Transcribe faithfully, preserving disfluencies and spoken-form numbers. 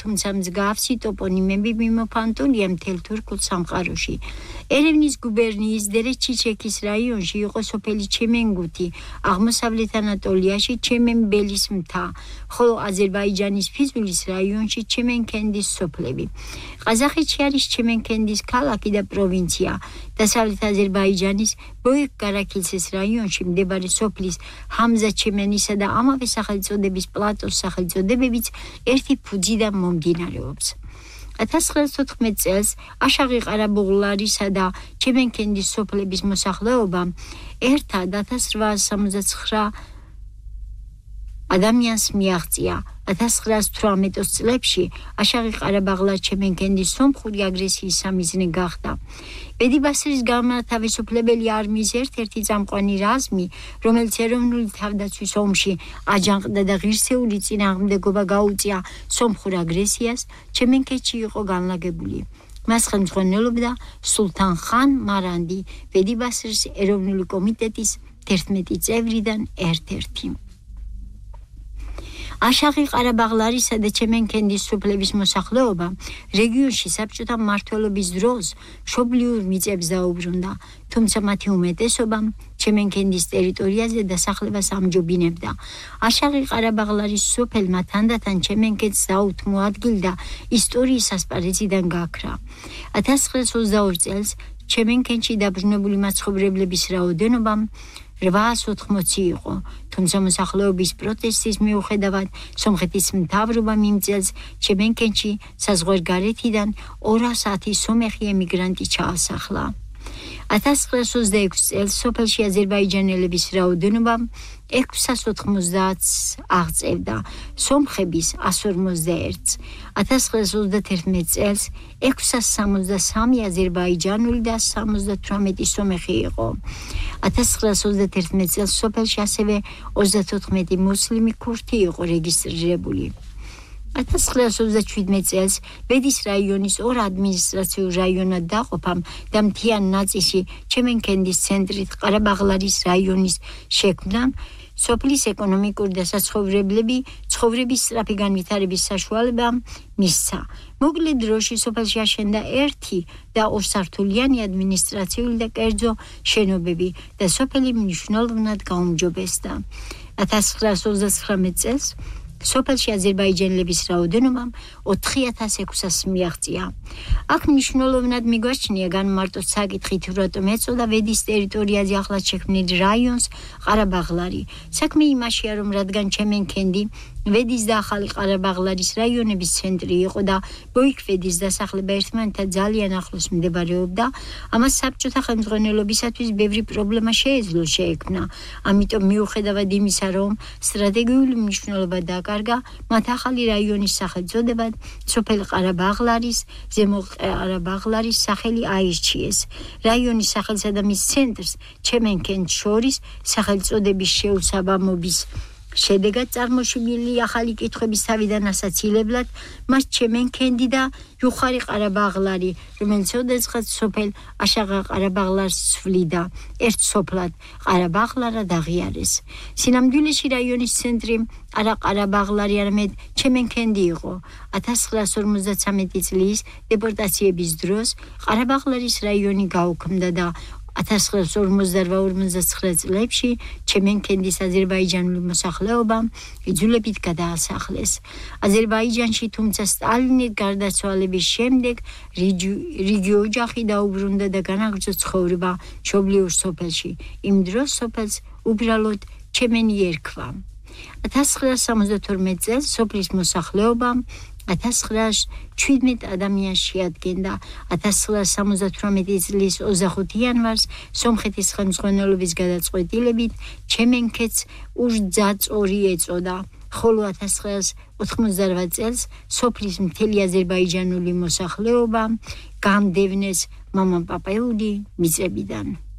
თუმცა მსგავსი ტოპონიმები მიმოფანტულია მთელ თურქულ სამყაროში. ერევნის გუბერნიის დერეჩიჩექის რაიონში იყო სოფელი ჩემენგუთი, აღმოსავლეთ ანატოლიაში ჩემენბელის მთა, ხოლო აზერბაიჯანის ფიზულის რაიონში ჩემენქენდის სოფლები. ყაზახეთში არის ჩემენქენდის ქალაქი და პროვინცია. დასავლეთ აზერბაიჯანის ბოიქ-გარაქილცეს რაიონში მდებარე სოფლის ჰამზა ჩემენისა და ამავე სახელწოდების პლატოს სახელწოდებებიც ერთი ფუძიდან მომდინარეობს. ათას ცხრაას თოთხმეტ წელს აშაღი ყარაბაღლარისა და ჩემენქენდის სოფლების მოსახლეობა ერთად ათას რვაას სამოცდა ცხრა ადამიანს მიაღწია. ათას ცხრაას თვრამეტ წლებში აშაღი ყარაბაღლარ ჩემენქენდის სომხური აგრესიის სამიზნე გახდა. ბედი-ბასრის განმათავისუფლებელი არმიის ერთ-ერთი წამყვანი რაზმი, რომელიც ეროვნული თავდაცვის ომში აჯანყდა და ღირსეული წინააღმდეგობა გაუწია სომხურ აგრესიას, ჩემენქეთში იყო განლაგებული. მას ხელმძღვანელობდა სულთან ხან მარანდი, ბედი-ბასრის ეროვნული კომიტეტის თერთმეტი წევრიდან ერთ-ერთი. აშაღი ყარაბაღლარისა და ჩემენქენდის სოფლების მოსახლეობა რეგიონში საბჭოთა მმართველობის დროს მშობლიურ მიწებს დაუბრუნდა, თუმცა მათი უმეტესობამ ჩემენქენდის ტერიტორიაზე დასახლებას ამჯობინებდა. აშაღი ყარაბაღლარის სოფელმა თანდათან ჩემენქენს დაუთმოადგილდა ისტორიის ასპარეზიდან გაქრა. ათას ცხრაას ოცდაორ წელს ჩემენქენში დაბრუნებული მაცხოვრებლების რაოდენობა რვაას ოთხმოცი იყო, თუმცა მოსახლეობის პროტესტის მიუხედავად სომხეთის მთავრობამ იმ წელს ჩემენქენში საზღვარგარეთიდან ორას ათი სომეხი ემიგრანტი ჩაასახლა. ათას ცხრაას ოცდაექვსი წელს სოფელში აზერბაიჯანელების რაოდენობა ექვსას ოთხმოცდაათს აღწევდა, სომხების ას ორმოცდაერთს. ათას ცხრაას ოცდათერთმეტ წელს ექვსას სამოცდა სამი აზერბაიჯანული და სამოცდათვრამეტი სომეხი იყო. ათას ცხრაას ოცდათერთმეტ წელს სოფელში ასევე ოცდათოთხმეტი მუსლიმი ქურთი იყო რეგისტრირებული. ათას ცხრაას ოცდაჩვიდმეტ წელს ბედის რაიონის ორ ადმინისტრაციულ რაიონად დაყოფამ და მთიან ნაწილში ჩემენქენდის ცენტრით ყარაბაღლარის რაიონის შექმნამ სოფლის ეკონომიკური და საცხოვრებლები ცხოვრების სწრაფი განვითარების საშუალება მისცა. მოკლე დროში სოფელში აშენდა ერთი და ორსართულიანი ადმინისტრაციული და კერძო შენობები და სოფელი მნიშვნელოვნად გაუმჯობესდა. ათას ცხრაას ოცდაცხრამეტ წელს სოფელში აზერბაიჯანელების რაოდენობამ ოთხი ათას ექვსას მიაღწია. აქ მნიშვნელოვნად მიგვაჩნია განმარტოთ საკითხი თუ რატომ ეწოდა ვედის ტერიტორიაზე ახლად შექმნილ რაიონს ყარაბაღლარი. საქმე იმაშია, რომ რადგან ჩემენქენდი ვედის და ახალი ყარაბაღლარის რაიონების ცენტრი იყო და ბოიქ-ვედის დასახლება ერთმანეთთან ძალიან ახლოს მდებარეობდა, ამას საბჭოთა ხელმძღვანელობისათვის ბევრი პრობლემა შეეძლო შეექმნა. ამიტომ მიუხედავად იმისა, რომ სტრატეგიული მნიშვნელობა დაკარგა, მათ ახალი რაიონის სახელწოდებად სოფელ ყარაბაღლარის, ზემო ყარაბაღლარის სახელი აირჩიეს. რაიონის სახელსა და მის ცენტრს ჩემენქენს შორის სახელწოდების შეუსაბამობის შედეგად წარმოშობილი ახალი კითხვების თავიდან ასაცილებლად მას ჩემენქენდი და იუხარი ყარაბაღლარი, რომელიც ოდესღაც სოფელ აშაღა ყარაბაღლარს ცვლიდა, ერთ სოფლად ყარაბაღლარად აღიარეს. სინამდვილეში რაიონის ცენტრი არა ყარაბაღლარი, არამედ ჩემენქენდი იყო. ათას ცხრაას ორმოცდათვრამეტი წლის დეპორტაციების დროს ყარაბაღლარის რაიონი გაუქმდა და ათას ცხრაას ორმოცდარვა ორმოცდაცხრა წლებში ჩემენქენდის აზერბაიჯანული მოსახლეობა იძულებით გადაასახლეს. აზერბაიჯანში, თუმცა სტალინის გარდაცვალების შემდეგ რიგი ოჯახი დაუბრუნდა და განაგრძო ცხოვრება მშობლიურ სოფელში. იმ დროს სოფელს უბრალოდ ჩემენი ერქვა. ათას ცხრაას სამოცდათორმეტ წელს სოფლის მოსახლეობა ათას ცხრაას ჩვიდმეტ ადამიანს შეადგენდა. ათას ცხრაას სამოცდათვრამეტი წლის ოცდახუთი იანვარს სომხეთის ხელმძღვანელობის გადაწყვეტილებით ჩემენქეთს ურძაწორი ეწოდა, ხოლო ათას ცხრაას ოთხმოცდარვა წელს სოფლის მთელი აზერბაიჯანული მოსახლეობა განდევნეს მამაპაპეული მიწებიდან.